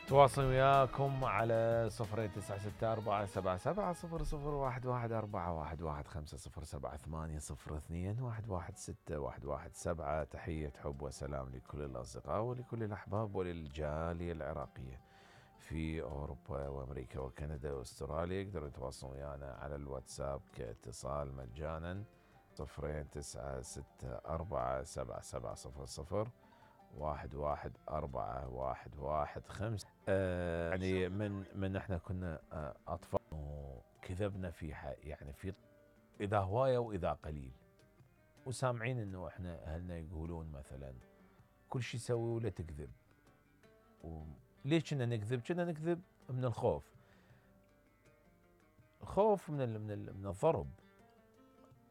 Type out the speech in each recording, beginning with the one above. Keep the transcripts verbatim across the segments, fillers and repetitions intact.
تواصل وياكم على صفرين تسعة ستة أربعة سبعة سبعة صفر صفر واحد واحد أربعة واحد واحد خمسة صفر سبعة ثمانية صفر اثنين واحد واحد ستة واحد واحد سبعة. تحية حب وسلام لكل الأصدقاء ولكل الأحباب وللجالية العراقية في أوروبا وأمريكا وكندا وأستراليا. يقدروا يتواصلون ويانا على الواتساب كاتصال مجانا صفرين تسعة ستة أربعة سبعة سبعة صفر صفر واحد واحد أربعة واحد واحد خمسة. آه يعني من من احنا كنا آه أطفال وكذبنا في يعني في إذا هواية وإذا قليل، وسامعين إنه احنا أهلنا يقولون مثلا كل شيء سوي ولا تكذب. وليش كنا نكذب؟ كنا نكذب من الخوف، الخوف من ال من ال من الضرب.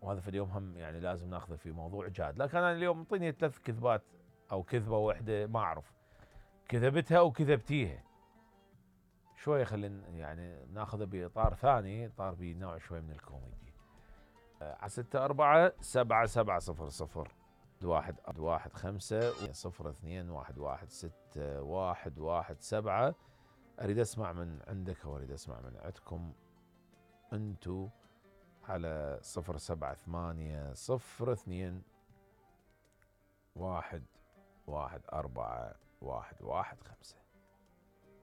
وهذا في اليوم هم يعني لازم ناخذه في موضوع جاد. لكن أنا اليوم اعطيني ثلاث كذبات أو كذبة واحدة ما أعرف كذبتها أو كذبتيها، شوية خلينا يعني ناخذه بإطار ثاني، إطار بنوع شوي من الكوميدي. على ستة أربعة سبعة سبعة صفر صفر واحد واحد خمسة صفر اثنين واحد واحد ستة واحد واحد سبعة. أريد أسمع من عندك وأريد أسمع من عندكم أنتو على صفر سبعة ثمانية صفر اثنين واحد واحد أربعة واحد واحد خمسة.